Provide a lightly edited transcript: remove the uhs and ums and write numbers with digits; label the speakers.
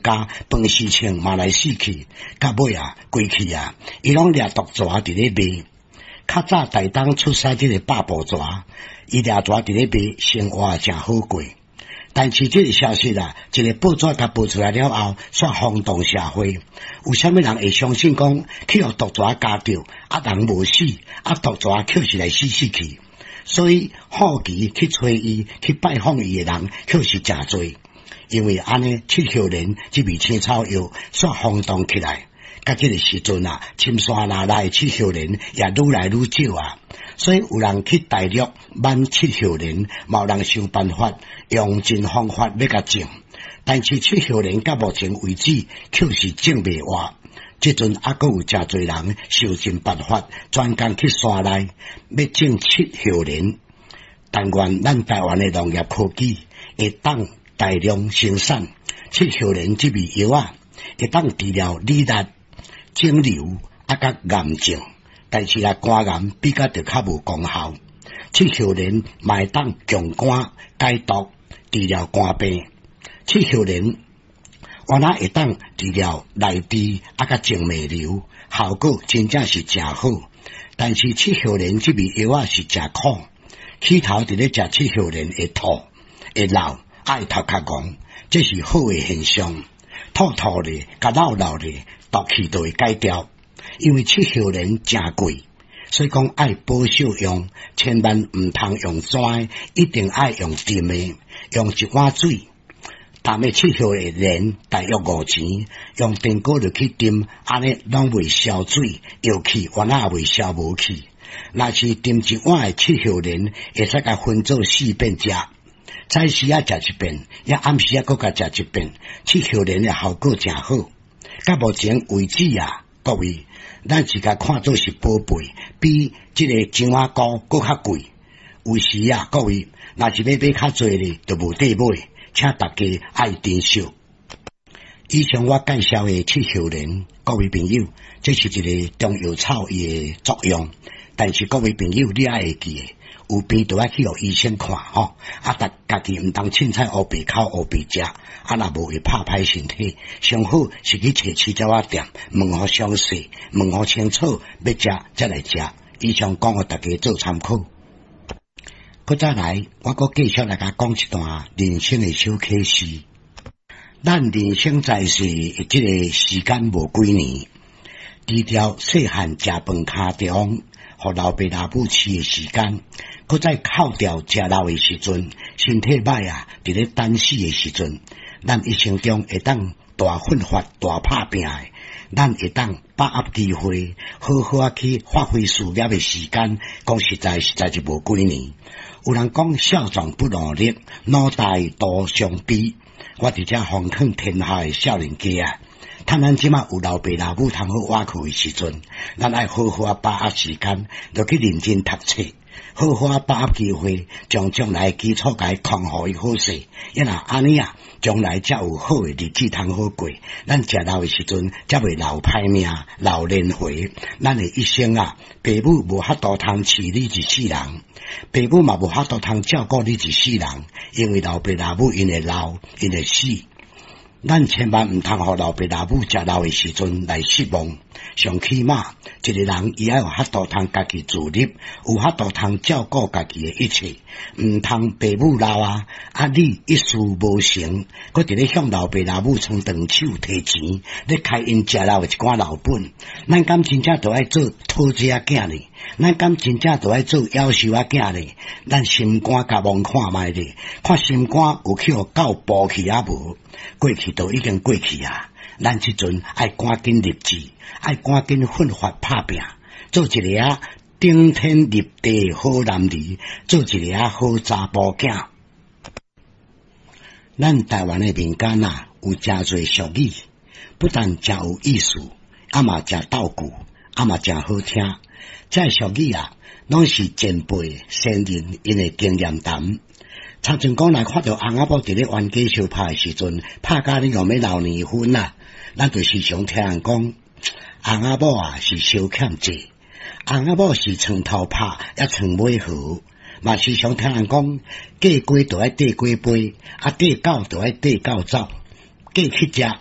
Speaker 1: 家飯時銃嘛來死去，到尾啊，規氣啊，伊攏掠毒蛇佇咧賣。較早台東出產這個百步蛇，伊掠蛇佇咧賣，生活誠好過。但是這個消息啊，一個報紙共報出來了後，煞轟動社會。有啥物人會相信講去予毒蛇咬著，啊人無死，啊毒蛇卻是來死死去？所以好奇去揣伊、去拜訪伊的人，卻是誠濟。因為按呢，七葉蓮這味青草藥煞轟動起來。佮這個時陣啊，深山內內七葉蓮也愈來愈少啊。所以有人去大陸買七葉蓮，嘛有人想辦法用盡方法欲共種。但是七葉蓮到目前為止，卻是種袂活。這陣猶閣有誠濟人想盡辦法，專工去山內欲種七葉蓮。但願咱台灣的農業科技會當大量生產七葉蓮這味藥仔，會當治療乳癌、腫瘤啊，佮癌症。但是啊，肝癌比較就較無功效。七葉蓮嘛會當強肝解毒，治療肝病。七葉蓮原來會當治療內痔啊，佮靜脈瘤，效果真正是誠好。但是七葉蓮這味藥仔是誠苦，起頭佇咧食七葉蓮會吐、會漏、愛頭殼戇，這是好的現象。吐吐咧，佮漏漏咧，毒氣就會解掉。因為七葉蓮誠貴，所以講愛保守用，千萬毋通用磚，一定愛用浸的，用一碗水。淡的七葉蓮大約5錢，用電鍋入去浸，按呢攏袂燒水，藥氣原來也袂燒無去。若是浸一碗的七葉蓮，會使共分做四遍食，早時仔食一遍，抑暗時仔閣共食一遍，七葉蓮的效果誠好。到目前為止啊，各位，咱是共看做是寶貝，比這個樟仔膏閣較貴。有時啊，各位，若是欲買較濟咧，就無得買，請大家愛珍惜。以上我介紹的七葉蓮，各位朋友，這是一個中藥草伊的作用。但是各位朋友，你愛會記得，有病就愛去予醫生看吼。啊，家己毋通凊彩烏白口烏白食，啊，若無會拍歹身體。上好是去揣飼鳥仔店，問予詳細，問予清楚，欲食才來食。以上講予大家做參考。閣再來，我閣繼續來共講一段人生的小啟示。咱人生在世的這個時間無幾年，除掉細漢食飯跤中，予老爸老母飼的時間，閣再扣掉食老的時陣，身體䆀啊，佇咧等死的時陣，咱一生中會當大奮發、大拍拚的，咱會當把握機會，好好仔去發揮事業的時間，講實在，實在是無幾年。有人講少壯不努力，老大徒傷悲。我佇遮奉勸天下的少年家啊，趁咱這馬有老爸老母通好倚靠的時陣，咱愛好好仔把握時間，就去認真讀冊，好好仔把握機會，將將來的基礎共伊匡予伊好勢。抑若按呢啊，將來才有好的日子通好過。咱食老的時陣，才袂老歹命、老輪迴。咱的一生啊，爸母無法度通飼你一世人，爸母嘛無法度通照顧你一世人，因為老爸老母𪜶會老，𪜶會死。咱千萬毋通予老爸老母食老的時陣來失望。上起碼，一個人伊愛有法度通家己自立，有法度通照顧家己的一切，毋通爸母老啊，啊你一事無成，閣佇咧向老爸老母伸長手提錢，咧開𪜶食老的一寡老本。咱敢真正著愛做討債仔囝呢？咱敢真正著愛做夭壽仔囝呢？咱心肝共摸看覓咧，看心肝有去予狗哺去抑無？過去都已經過去啊！咱這陣愛趕緊立志，愛趕緊奮發拍拚，做一个啊頂天立地的好男兒，做一个啊好查埔囝。咱台灣的民間啊，有誠濟俗語，不但誠有意思，啊嘛誠逗趣，啊嘛誠好聽。這俗語啊，攏是前輩先人𪜶的經驗談。親像講來看著翁仔某佇咧冤家相拍的時陣，拍甲你欲流年分啊！咱就時常聽人講，翁仔某啊是相欠債，翁仔某是床頭拍，抑床尾和。嘛時常聽人講，過雞就愛綴雞飛，啊綴狗就愛綴狗走。過去食。